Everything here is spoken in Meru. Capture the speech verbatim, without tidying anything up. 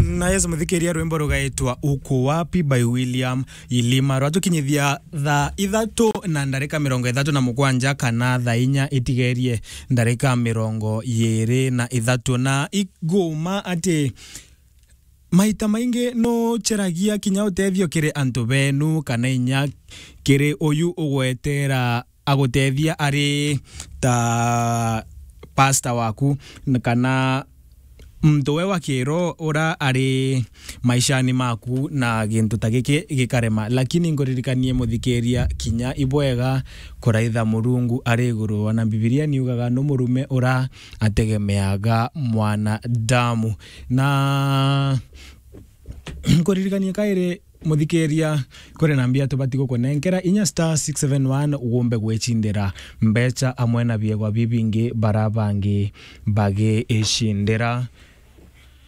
Na yes, muthikiria, rwimbo rugaitwa Uko Wapi by William Ilima rwatukinyithia thaa ithatu na ndarika mirongo ithatu na mugwanja, kana thaa inya itigerie ndarika mirongo iiri na ithatu. Na iguma ati maita maingi nuceragia kinya utethio kiri antu benu, kana inya kiri uyu ugwetera agutethia ari ta pasta waku, n-, kana muntu we wa kiroho ura ari maishani maku na gintu ta giki gikarema. Lakini nkuririkanie muthikiria, kinya ibwega kuraitha Murungu ari iguru. Ona Bibilia niugaga, "Nu murume ura ategemeaga mwanadamu." Na nkuririkanie kairi, muthikiria, kuri na mbia tubati gukunenkera, inya star six seven one ugumbe gwicindira mbecha amwe na biegwa bibingi bara bangi bagicindira.